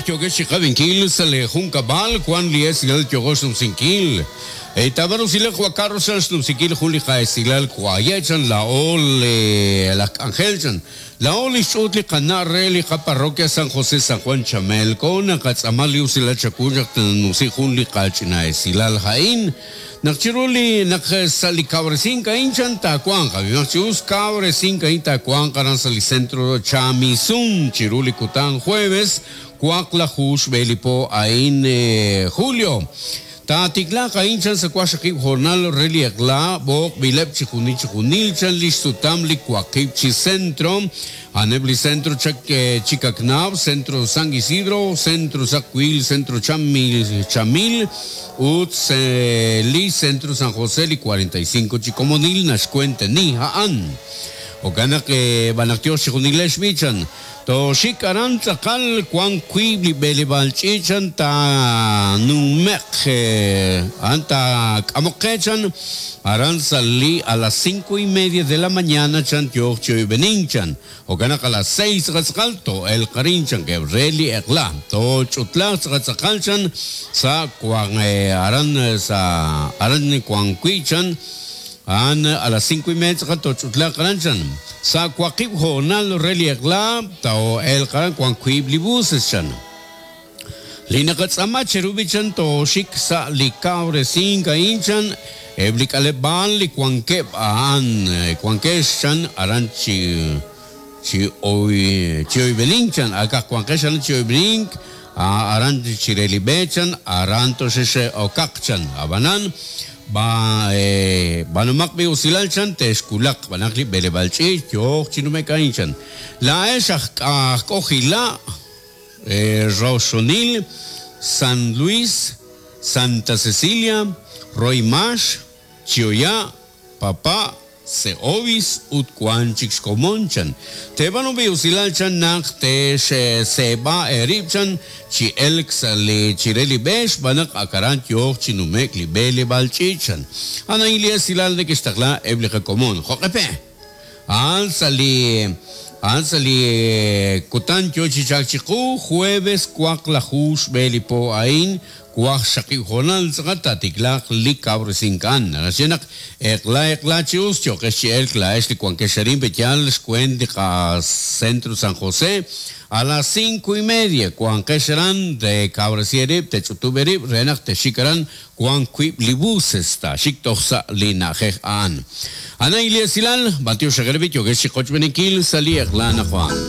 naq yookex chi qab'inkil sa' lee junkab'al wan li esilal yooqo xnumsinkil. Taab'an usilal Juan Carlos chan xnumsinkil jun li qa'esilal waye' chan laa'o li laj k'anjel chan. Laa'o li xch'uut li qana' re li qaparroquia San José San Juan Chamelco naqatz'aama li usilal chawu naq tanumsi jun li qach'ina esilal a'in. Naq chiru li naq sa' li kawresink a'in chan taawanq, ab'imaq chi us, kawresink a'in taawanq aran sa' li Centro Chamisun chiru li kutan jueves waqlaju xb'e li po a'in julio. Taatiklaaq a'in chan sa' waqxaqib' hoonal re li eq'la, b'oqb'ileb' chi junil chi junil chan li xsutam li waqib' chi centro, a'aneb' li centro Chikaknab, centro San Isidro, centro Saqwiil, centro Chamil ut li centro San José li 45 chi komonil naxkuenteni a'an. Jo'kan naq b'an naq yoox chi junilex b'i chan. Tooxik aran tz'aqal wank wiib' li b'eleb'aal ch'iich' chan taanume'q a'an taak'amoq qe chan aran sa' li a las cinco y media de la mañana chan yooq chi oyb'enink chan jo'kan naq a las seis tz'aqal tz'aqal too'elq arin chankeb' re li eq'la tooch'utlaaq tz'aqal tz'aqal chan sa' wan aran sa' aran wan wi' chan A'an a las cinco y media tz'aqal tooch'utlaaq aran chan. Sa' waqib' hoonal re li eq'la too'elq aran wank wiib' li buses chan. Li naqatz'aama cheru b'i chan tooxik sa' li kawresink a'in chan eb' li k'aleb'aal li wankeb' a'an wankex chan aran chi chi chi oyb'enink chan akaq wanqex aran chi oyb'enink aran chire li b'e chan aran toxex'okaq chan ab'anan B'aanumaq b'i' usilal chan texwulaq, xb'aan naq li b'eleb'aal ch'iich' yooq chi nume'k a'in chan. Laa'ex aj k'ojila' Roxonil, San Luis, Santa Cecilia, Roy Max, Chioya', Papa', Se'obis ut wank chik xkomon chan. Teeb'aanu b'i' usilal chan naq te'xseeb'a eerib' chan chi elk sa' li chire li b'e xb'aan naq ak aran yooq chi nume'k li b'eleb'aal ch'iich' chan. A'an a'in li esilal neke'xtaqla eb' li qakomon. Jo'q'e pe'? A'an sa' li a'an sa' li kutan yoo chi chalk chiqu, jueves waqlaju xb'e li po a'in, Waqxaqib' hoonal tz'aqal taatiklaaq li kawresink a'an. Naxye naq eq'la eq'la chi us yooqex chi elk laa'ex li wankex arin pe'yaal xweent li qa-Centro San José a las cinco y media wanqex aran teekawresi eerib' teech'utub' eerib' re naq texxik aran wank wiib' li buses taaxik toj sa' li na'ajej a'an. A'an a'in li esilal, b'antiox xe'qerab'i yookex chi qochb'eeninkil sa' li eq'la anaqwan.